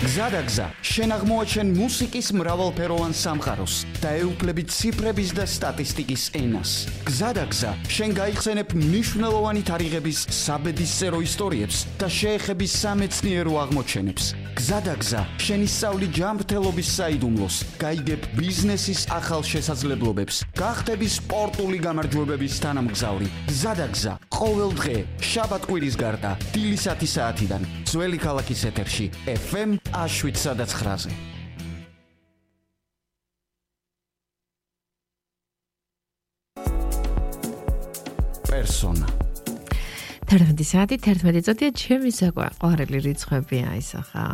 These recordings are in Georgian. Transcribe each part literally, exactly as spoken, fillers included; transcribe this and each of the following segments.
გზადაგზა, შენ აღმოაჩენ მუსიკის მრავალფეროვან სამყაროს და ეუფლებით ციფრების და სტატისტიკის ენას. გზადაგზა, შენ გაიხსენებ მნიშვნელოვანი თარიღების საბედისწერო ისტორიებს და შეეხები სამეცნიერო აღმოჩენებს. გზადაგზა, შენ ისწავლი ჯანმრთელობის საიდუმლოს, გაიგებ ბიზნესის ახალ შესაძლებლობებს, გახდები სპორტული გამარჯვებების თანამგზავრი. გზადაგზა, ყოველ დღე, შაბათ-კვირის გარდა, დილის ათი საათიდან, ძველი ქალაქის ეთერში, ეფ ემ შვიდ ცხრაზე. პერსონა. თერთმეტი საათი თერთმეტი წუთია, ჩემი საყვარელი რიცხვები აისახა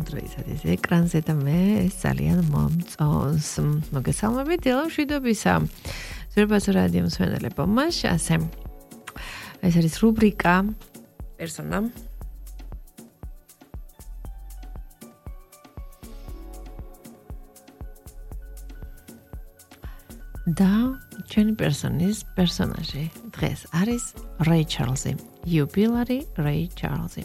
დროისათვის ეკრანზე და მე ეს ძალიან მომწონს. მოგესალმებით, დილა მშვიდობისა. ზურბაზო რადიო მსმენელებო, მას ასე. ეს არის რუბრიკა პერსონა. და ჩვენი პერსონის პერსონაჟი დღეს არის რეი ჩარლზი, იუბილარი რეი ჩარლზი.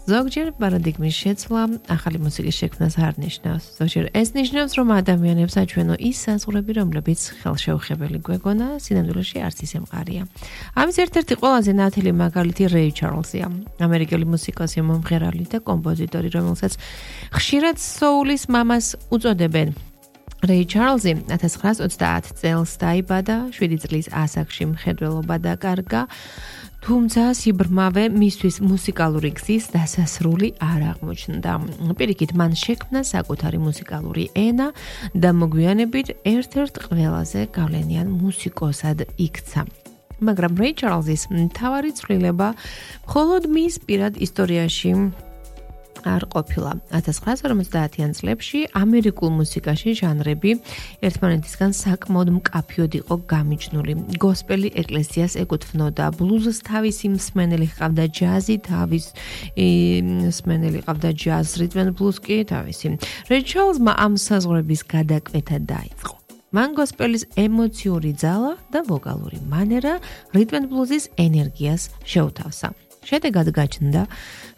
ზოგჯერ პარადიგმის შეცვლა ახალი მუსიკის შექმნას არ ნიშნავს. ზოგჯერ ეს ნიშნავს, რომ ადამიანებს აჩვენო ის საზღვრები, რომლებიც ხელშეუხებელი გვეგონა, სინამდვილეში არც ისე მყარია. ამის ერთ-ერთი ყველაზე ნათელი მაგალითი რეი ჩარლზია, ამერიკელი მუსიკოსი, მომღერალი და კომპოზიტორი, რომელსაც ხშირად სოულის მამას უწოდებენ. რეი ჩარლზი ათას ცხრაას ოცდაათ წელს დაიბადა, შვიდი წლის ასაკში მხედველობა დაკარგა, თუმცა სიბრმავე მისთვის მუსიკალური გზის დასასრული არ აღმოჩნდა. პირიქით, მან შექმნა საკუთარი მუსიკალური ენა და მოგვიანებით ერთ-ერთ ყველაზე გავლენიან მუსიკოსად იქცა. მაგრამ რეი ჩარლზის მთავარი ცვლილება მხოლოდ მის პირად ისტორიაში არ ყოფილა. ათას ცხრაას ორმოცდაათიან წლებში ამერიკულ მუსიკაში ჟანრები ერთმანეთისგან საკმაოდ მკაფიოდ იყო გამიჯნული. გოსპელი ეკლესიას ეკუთვნოდა, ბლუზს თავისი მსმენელი ჰყავდა, ჯაზი თავის მსმენელი ჰყავდა, ჯაზ რიტმ ენ ბლუზ კი თავისი. რეი ჩარლზმა ამ საზღვრების გადაკვეთა დაიწყო. მან გოსპელის ემოციური ძალა და ვოკალური მანერა რიტმ ენ ბლუზის ენერგიას შეუთავსა. შედეგად გაჩნდა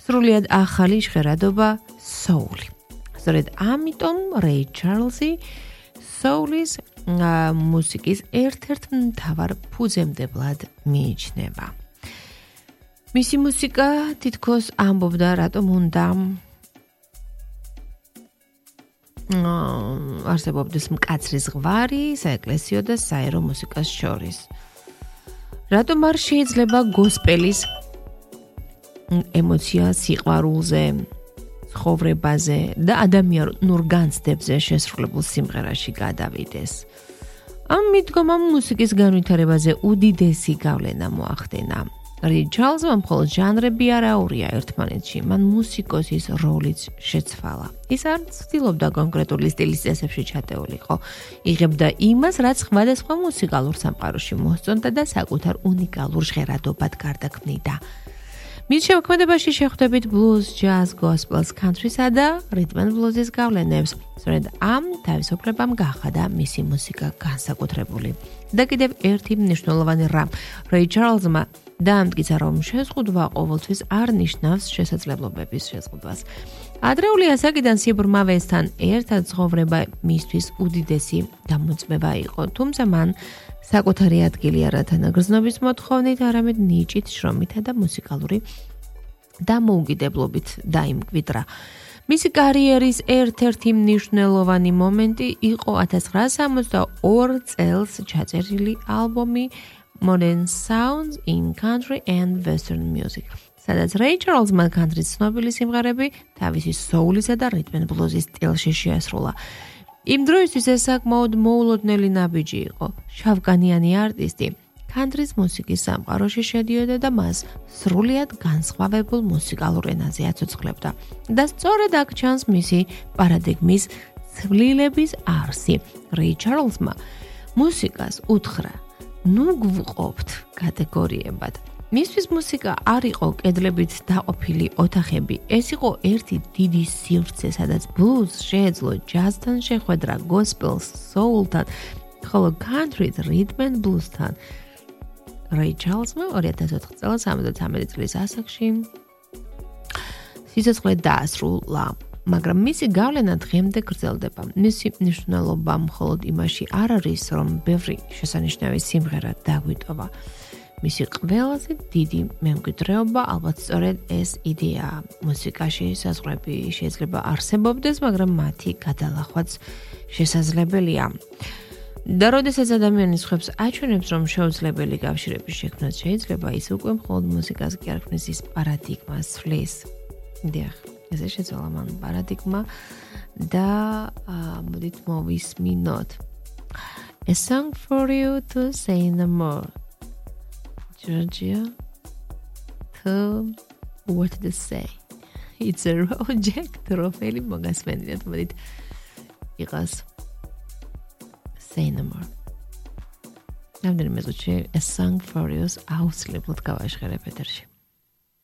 სრულიად ახალი ჟღერადობა სოული. სწორედ ამიტომ რეი ჩარლზი სოულის მუსიკის ერთ-ერთ მთავარ ფუძემდებლად მიიჩნევა. მისი მუსიკა თითქოს ამბობდა, რატომ უნდა არსებობდეს მკაცრი ზღვარი საეკლესიო და საერო მუსიკას შორის. რატომ არ შეიძლება გოსპელის ემოცია სიყვარულზე, ცხოვრებაზე და ადამიანურ განცდებზე შესრულებულ სიმღერაში გადავიდეს. ამ მიდგომამ მუსიკის განვითარებაზე უდიდესი გავლენა მოახდენა. რეი ჩარლზმა მხოლოდ ჟანრები არ აურია ერთმანეთში, მან მუსიკოსის როლიც შეცვალა. ის არ ცდილობდა კონკრეტული სტილის წესებში ჩატეულიყო. იღებდა იმას, რაც სხვადასხვა მუსიკალურ სამყაროში მოსწონდა და საკუთარ უნიკალურ ჟღერადობად გარდაქმნიდა. მის შემოქმედებაში შეხვდებით ბლუზ, ჯაზ, გოსპელს, კანტრისა და რიტმ ენ ბლუზის გავლენებს. სწორედ ამ თავისუფლებამ გაახადა მისი მუსიკა განსაკუთრებული. და კიდევ ერთი მნიშვნელოვანი რამ, რეი ჩარლზმა დაამტკიცა, რომ შეზღუდვა ყოველთვის არ ნიშნავს შესაძლებლობების შეზღუდვას. ადრეული ასაკიდან სიბრმავესთან ერთად ცხოვრება მისთვის უდიდესი დამოწმება იყო, თუმცა მან საკუთარი ადგილი არა თანაგრძნობის მოთხოვნით, არამედ ნიჭით, შრომითა და მუსიკალური დამოუკიდებლობით დაიმკვიდრა. მისი კარიერის ერთ-ერთი მნიშვნელოვანი მომენტი იყო ათას ცხრაას სამოცდაორ წელს ჩაწერილი ალბომი Modern Sounds in Country and Western Music, სადაც რეი ჩარლზმა კანტრის ცნობილი სიმღერები თავისი სოულისა და რიტმ ენ ბლუზის სტილში შეასრულა. იმ დროისთვის ეს საკმაოდ მოულოდნელი ნაბიჯი იყო. შავკანიანი არტისტი კანტრის მუსიკის სამყაროში შედიოდა და მას სრულიად განსხვავებულ მუსიკალურ ენაზე აცოცხლებდა. და სწორედ აქ ჩანს მისი პარადიგმის ცვლილების არსი. რეი ჩარლზმა მუსიკას უთხრა, ნუ გვყოფთ კატეგორიებად. მისთვის მუსიკა არ იყო კედლებით დაყოფილი ოთახები, ეს იყო ერთი დიდი სივრცე, სადაც ბლუზ შეეძლო ჯაზთან შეხვედრა, გოსპელს, სოულთან, ხოლო კანტრით, რიტმ ენ ბლუზთან. რეი ჩარლზმა ორი ათას ოთხ წელს ოცდამეტი წლის ასაკში სიცოცხლე დაასრულა. მაგრამ მისი გავლენა დღემდე გრძელდება. მისი მნიშვნელობა მხოლოდ იმაში არ არის, რომ ბევრი შესანიშნავი სიმღერა დაგვიტოვა. მისი ყველაზე დიდი მემკვიდრეობა ალბათ სწორედ ეს იდეაა. მუსიკაში საზღვრები შეიძლება არსებობდეს, მაგრამ მათი გადალახვაც შესაძლებელია. და როდესაც ადამიანი სხვებს აჩვენებს, რომ შეუძლებელი კავშირების შექმნაც შეიძლება, ის უკვე მხოლოდ მუსიკას კი არ ქმნის, ის პარადიგმას ცვლის. დიახ, ესე შეცვალა მან პარადიგმა და მოდით მოვისმინოთ. A song for you to say no more. Georgia, to what to say. It's a project, როფელი მოგასმენდით, მოდით იყას. Say no more. რამდენიმე წუთში A song for you-ს აუცილებლად გავაშხერებ ეთერში.